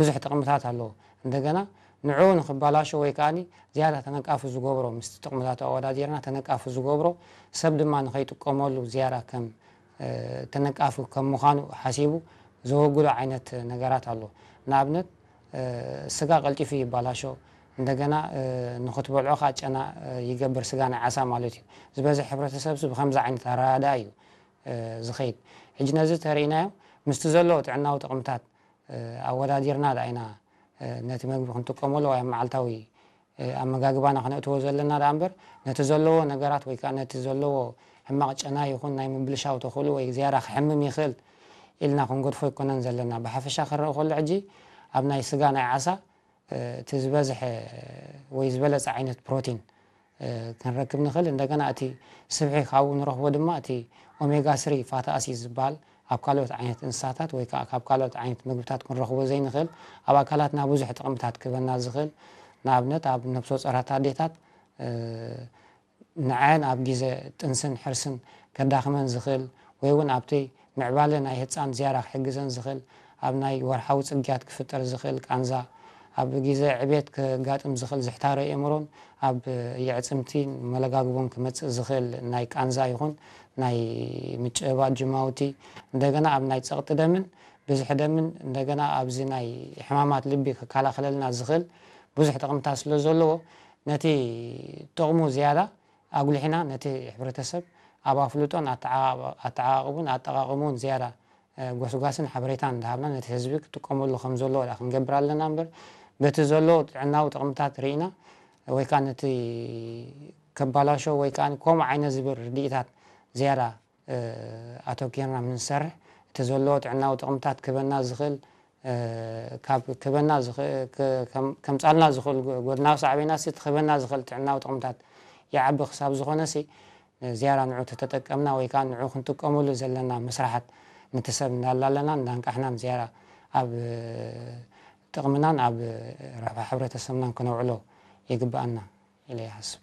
ብዙሕ ጥቕምታት ኣለዎ። እንደገና ንዕኡ ንኽባላሾ ወይ ከዓኒ ዝያዳ ተነቃፊ ዝገብሮ፣ ምስቲ ጥቕምታቱ ኣወዳዲርና ተነቃፊ ዝገብሮ፣ ሰብ ድማ ንኸይጥቀመሉ ዝያዳ ከም ተነቃፊ ከም ምዃኑ ሓሲቡ ዘወግዶ ዓይነት ነገራት ኣሎ። ንኣብነት ስጋ ቀልጢፉ ይባላሾ፣ እንደገና ንኽትበልዖ ከዓ ጨና ይገብር፣ ስጋ ናይ ዓሳ ማለት እዩ። ዝበዝሕ ሕብረተሰብ ብከምዚ ዓይነት ኣረዳድኣ እዩ ዝኸይድ። ሕጂ ነዚ ተርእናዮ ምስቲ ዘለዎ ጥዕናዊ ጥቕምታት ኣወዳዲርና ደኣ ኢና ነቲ መግቢ ክንጥቀመሉ ወይ ኣብ መዓልታዊ ኣመጋግባና ክነእትዎ ዘለና ደኣ እምበር፣ ነቲ ዘለዎ ነገራት ወይ ከዓ ነቲ ዘለዎ ሕማቕ ጨና ይኹን ናይ ምብልሻው ተኽእሎ ወይ ዝያዳ ክሕምም ይኽእል ኢልና ክንገድፎ ኣይኮነን ዘለና። ብሓፈሻ ክረአ ከሎ ሕጂ ኣብ ናይ ስጋ ናይ ዓሳ እቲ ዝበዝሐ ወይ ዝበለጸ ዓይነት ፕሮቲን ክንረክብ ንኽእል። እንደገና እቲ ስብሒ ካብኡ ንረኽቦ ድማ እቲ ኦሜጋ ስሪ ፋቲ ኣሲድ ዝበሃል ኣብ ካልኦት ዓይነት እንስሳታት ወይ ከዓ ካብ ካልኦት ዓይነት ምግብታት ክንረኽቦ ዘይንኽእል፣ ኣብ ኣካላትና ብዙሕ ጥቕምታት ክበና ዝኽእል፣ ንኣብነት ኣብ ነብሰ ጾራት ኣዴታት ንዐን ኣብ ግዜ ጥንስን ሕርስን ከዳኽመን ዝኽእል ወይ እውን ኣብቲ ምዕባለ ናይ ህፃን ዝያዳ ክሕግዘን ዝኽእል፣ ኣብ ናይ ወርሓዊ ጽግያት ክፍጠር ዝኽእል ቃንዛ፣ ኣብ ግዜ ዕቤት ክጋጥም ዝኽእል ዝሕታረ ኣእምሮን ኣብ የዕጽምቲ መለጋግቦን ክመጽእ ዝኽእል ናይ ቃንዛ ይኹን ናይ ምጭባጥ ጅማውቲ፣ እንደገና ኣብ ናይ ጸቕጢ ደምን ብዝሒ ደምን እንደገና ኣብዚ ናይ ሕማማት ልቢ ክከላኸለልና ዝኽእል ብዙሕ ጥቕምታት ስለ ዘለዎ ነቲ ጥቕሙ ዝያዳ ኣጉሊሕና ነቲ ሕብረተሰብ ኣብ ኣፍልጦን ኣተዓባብኡን ኣጠቓቕምኡን ዝያዳ ጎስጓስን ሓበሬታን እንዳሃብና ነቲ ህዝቢ ክጥቀመሉ ከም ዘለዎ ደኣ ክንገብር ኣለና እምበር በቲ ዘሎ ጥዕናዊ ጥቕምታት ርኢና ወይ ከዓ ነቲ ከባላሾ ወይ ከዓ ከምኡ ዓይነት ዝብል ርድኢታት ዝያዳ ኣተኪርና ምንሰርሕ እቲ ዘሎ ጥዕናዊ ጥቕምታት ክበና ዝኽእል ካብ ክበና ከምፃልና ዝኽእል ጎድናዊ ሳዕቤናት እቲ ክበና ዝኽእል ጥዕናዊ ጥቕምታት ይዓቢ ክሳብ ዝኾነሲ ዝያዳ ንዑ ተተጠቀምና ወይ ከዓ ንዑ ክንጥቀመሉ ዘለና መስራሓት ንትሰብ እንዳላለና እንዳንቃሕናን ዝያዳ ኣብ ጥቕምናን ኣብ ረብሓ ሕብረተሰብናን ክነውዕሎ ይግብኣና ኢለ ይሓስብ።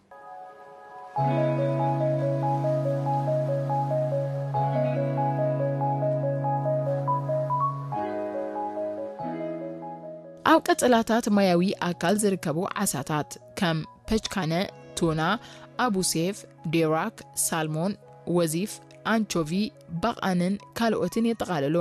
ኣብ ቀጸላታት ማያዊ ኣካል ዝርከቡ ዓሳታት ከም ፐችካነ፣ ቱና፣ ኣቡሴፍ፣ ዴራክ፣ ሳልሞን፣ ወዚፍ፣ ኣንቾቪ፣ በቓንን ካልኦትን የጠቓልሉ።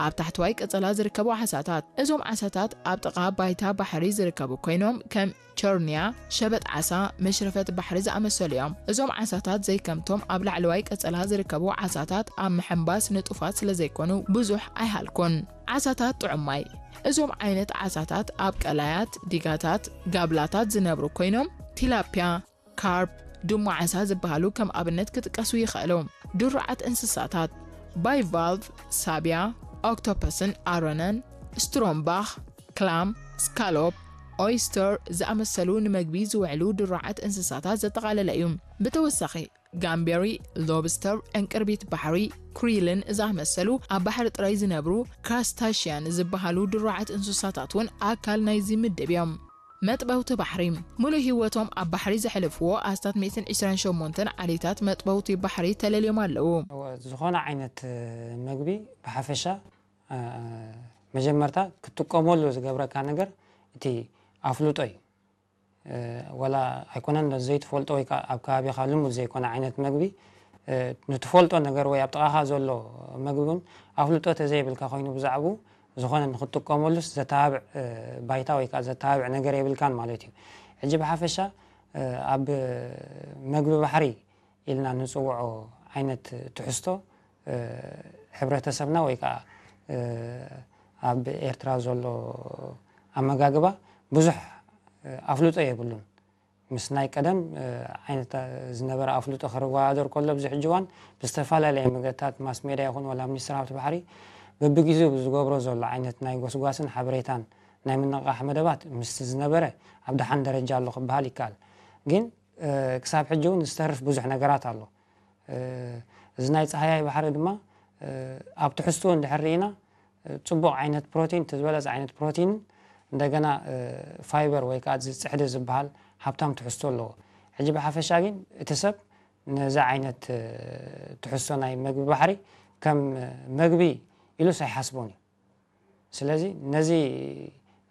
ኣብ ታሕተዋይ ቀጸላ ዝርከቡ ዓሳታት። እዞም ዓሳታት ኣብ ጥቓ ባይታ ባሕሪ ዝርከቡ ኮይኖም ከም ቸርንያ፣ ሸበጥ ዓሳ፣ መሽረፈት ባሕሪ ዝኣመሰሉ እዮም። እዞም ዓሳታት ዘይከምቶም ኣብ ላዕለዋይ ቀጸላ ዝርከቡ ዓሳታት ኣብ ምሕንባስ ንጡፋት ስለዘይኮኑ ብዙሕ ኣይሃልኩን። ዓሳታት ጥዑም ማይ። እዞም ዓይነት ዓሳታት ኣብ ቀላያት፣ ዲጋታት፣ ጋብላታት ዝነብሩ ኮይኖም ቲላፒያ፣ ካርፕ፣ ድሙ ዓሳ ዝበሃሉ ከም ኣብነት ክጥቀሱ ይኽእሉ። ድሩዓት እንስሳታት ባይቫልቭ፣ ሳብያ፣ ኦክቶፐስን ኣሮነን፣ ስትሮምባኽ፣ ክላም፣ ስካሎፕ፣ ኦይስተር ዝኣመሰሉ ንመግቢ ዝውዕሉ ድሩዓት እንስሳታት ዘጠቓለለ እዩ። ብተወሳኺ ጋምቤሪ፣ ሎብስተር፣ ዕንቅርቢት ባሕሪ፣ ክሪልን ዝኣመሰሉ ኣብ ባሕሪ ጥራይ ዝነብሩ ክራስታሽያን ዝበሃሉ ድሩዓት እንስሳታት እውን ኣካል ናይዚ ምድብ እዮም። መጥበውቲ ባሕሪ። ሙሉእ ህይወቶም ኣብ ባሕሪ ዘሕልፍዎ ኣስታት ሚእትን ዕስራን ሸሞንተን ዓሌታት መጥበውቲ ባሕሪ ተለልዮም ኣለዉ። ዝኾነ ዓይነት መግቢ ብሓፈሻ መጀመርታ ክትጥቀመሉ ዝገብረካ ነገር እቲ ኣፍልጦ እዩ። ወላ ኣይኮነን ዘይትፈልጦ ወይ ከዓ ኣብ ከባቢኻ ልሙድ ዘይኮነ ዓይነት መግቢ ንትፈልጦ ነገር ወይ ኣብ ጥቓኻ ዘሎ መግቢ እውን ኣፍልጦ ተዘይብልካ ኮይኑ ብዛዕባኡ ዝኾነ ንክትጥቀመሉስ ዘተባብዕ ባይታ ወይ ከዓ ዘተባብዕ ነገር የብልካን ማለት እዩ። ሕጂ ብሓፈሻ ኣብ መግቢ ባሕሪ ኢልና ንፅውዖ ዓይነት ትሕዝቶ ሕብረተሰብና ወይ ከዓ ኣብ ኤርትራ ዘሎ ኣመጋግባ ብዙሕ ኣፍልጦ የብሉን። ምስ ናይ ቀደም ዓይነት ዝነበረ ኣፍልጦ ክረዋዳደር ከሎ ኣብዚ ሕጂ እዋን ብዝተፈላለየ መገድታት ማስ ሜድያ ይኹን ዋላ ሚኒስትር ሃብቲ ባሕሪ በብግዜኡ ዝገብሮ ዘሎ ዓይነት ናይ ጎስጓስን ሓበሬታን ናይ ምንቕቓሕ መደባት ምስቲ ዝነበረ ኣብ ደሓን ደረጃ ኣሎ ክበሃል ይከኣል። ግን ክሳብ ሕጂ እውን ዝተርፍ ብዙሕ ነገራት ኣሎ። እዚ ናይ ፃህያይ ባሕሪ ድማ ኣብ ትሕዝትኡ እንድሕር ርኢና ፅቡቕ ዓይነት ፕሮቲን እቲ ዝበለፀ ዓይነት ፕሮቲን እንደገና ፋይበር ወይ ከዓ እዚ ፅሕዲ ዝበሃል ሃብታም ትሕዝቶ ኣለዎ። ሕጂ ብሓፈሻ ግን እቲ ሰብ ነዚ ዓይነት ትሕዝቶ ናይ መግቢ ባሕሪ ከም መግቢ ኢሉስ ኣይሓስቦን እዩ። ስለዚ ነዚ